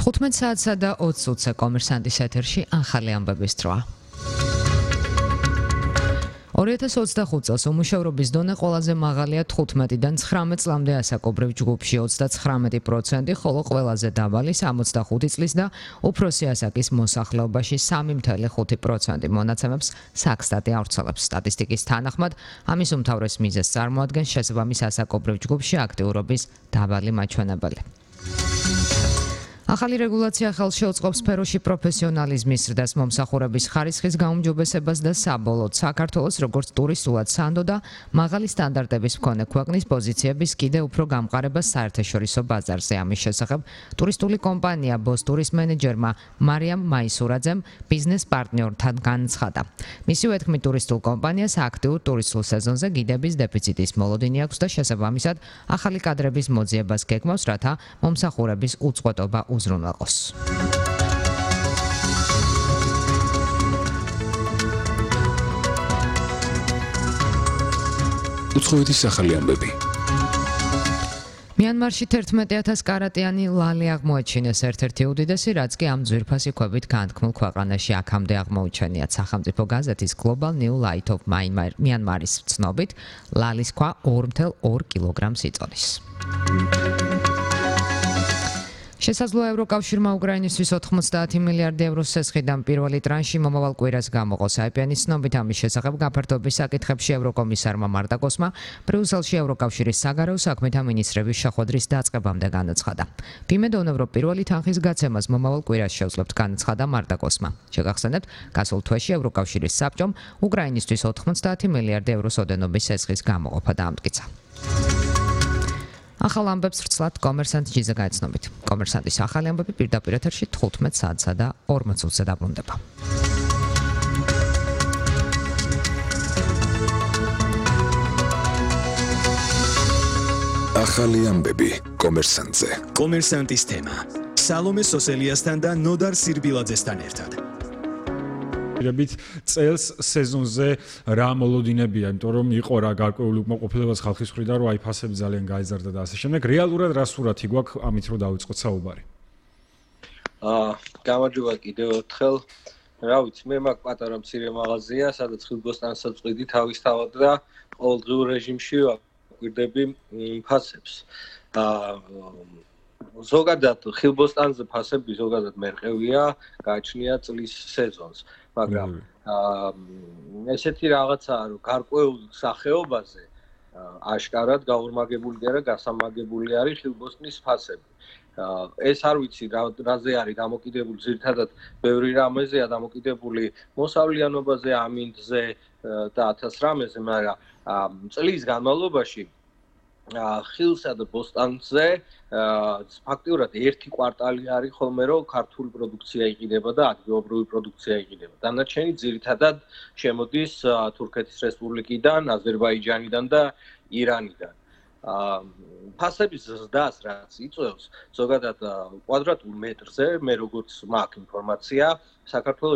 15 საათსა და 20 წუთზე კომერსანტის ეთერში ახალი ამბების დროა. 2025 წელს უმუშევრობის დონე ყველაზე მაღალია 15-დან 19 წლამდე ასაკობრივ ჯგუფში 39%, ხოლო ყველაზე დაბალი 65 წლის და უფროსი ასაკის მოსახლეობაში 3.5% მონაცემებს საქსტატი ავრცელებს. სტატისტიკის თანახმად, ამის უმთავრეს მიზეზს წარმოადგენს შესაბამის ასაკობრივ ჯგუფში აქტიურობის დაბალი მაჩვენებელი. ახალი რეგულაცია ხელს შეუწყობს სფეროში პროფესიონალიზმის ზრდას, მომსახურების ხარისხის გაუმჯობესებას და საბოლოოდ საქართველოს როგორც ტურისტულად სანდო და მაღალი სტანდარტების მქონე ქვეყნის პოზიციების კიდევ უფრო გამყარებას საერთაშორისო ბაზარზე. ამის შესახებ ტურისტული კომპანია ბოსტურის მენეჯერმა მარიამ მაისურაძემ ბიზნეს პარტნიორთან განაცხადა. მისივე თქმით, ტურისტულ კომპანიას აქტიურ ტურისტულ სეზონზე გიდების დეფიციტის მოლოდინი აქვს და შესაბამისად ახალი კადრების მოძიებას გეგმავს, რათა მომსახურების უწყვეტობა უზრუნველყოს. უცხოეთის ახალი ამბები. მიანმარში 11,000 კარატიანი ლალი აღმოაჩინეს, ერთ-ერთი უდიდესი, რაც კი ამ ძვირფასი ქვებით განთქმულ ქვეყანაში აქამდე აღმოუჩენიათ. სახელმწიფო გაზეთის Global New Light of Myanmar's ცნობით, ლალის ქვა 2,2 კილოგრამს იწონის. შესაძლოა ევროკავშირმა უკრაინისთვის 90 მილიარდი ევროს სესხიდან პირველი ტრანში მომავალ კვირას გამოყოს. IPN-ის ცნობით ამის შესახებ გაფართოების საკითხებში ევროკომისარმა მარტაკოსმა ბრიუსელში ევროკავშირის საგარეო საქმეთა მინისტრების შეხვედრის დაწყებამდე განაცხადა. ვიმედოვნებ, რომ პირველი თანხის გაცემას მომავალ კვირას შევძლებთ, განაცხადა მარტაკოსმა. შეგახსენებთ, გასულ თვეში ევროკავშირის საბჭომ უკრაინისთვის 90 მილიარდი ევროს ოდენობის სესხის გამოყოფა დაამტკიცა. ახალ ამბებს ვრცლად კომერსანტ ჯიზე გაეცნობით. კომერსანტის ახალი ამბები პირდაპირ ეთერში 15 საათსა და 40 წუთზე დაბრუნდება. ახალი ამბები კომერსანტზე. კომერსანტის თემა. სალომე სოსელიასთან და ნოდარ სირბილაძესთან ერთად. წელს სეზონზე რა მოლოდინებია, იმიტომ რომ იყო რა გარკვეული უკმაყოფილებას ხალხის მხრიდან, რომ აი ფასები ძალიან გაიზარდა და ასე შემდეგ. რეალურად რა სურათი გვაქვს ამით რომ დავიწყოთ საუბარი? გამარჯობა კიდევ ერთხელ. რა ვიცი, მე მაქვს პატარა მცირე მაღაზია, სადაც ხილბოსტანსაც წვიდი თავისთავად და ყოველდღიურ რეჟიმში ვაკვირდები ფასებს. ზოგადად ხილბოსტანზე ფასები ზოგადად მერყევია, გააჩნია წლის სეზონს. მაგრამ ესეთი რაღაცაა, რომ გარკვეულ სახეობაზე აშკარად გაორმაგებული და გასამაგებული არის ხილბოსტნის ფასები. ეს არ ვიცი რაზე არის დამოკიდებული, ძირითადად ბევრი რამეზეა დამოკიდებული მოსავლიანობაზე, ამინდზე და 1000 რამეზე, მაგრამ წლის განმავლობაში ხილსა და ბოსტანზე ფაქტიურად ერთი კვარტალი არის ხოლმე, რომ ქართული პროდუქცია იყიდება და ადგილობრივი პროდუქცია იყიდება. დანარჩენი ძირითადად შემოდის თურქეთის რესპუბლიკიდან, აზერბაიჯანიდან და ირანიდან. ფასების ზრდას რაც იწვევს, ზოგადად კვადრატულ მეტრზე, მე როგორც მაქვს ინფორმაცია, საქართველოს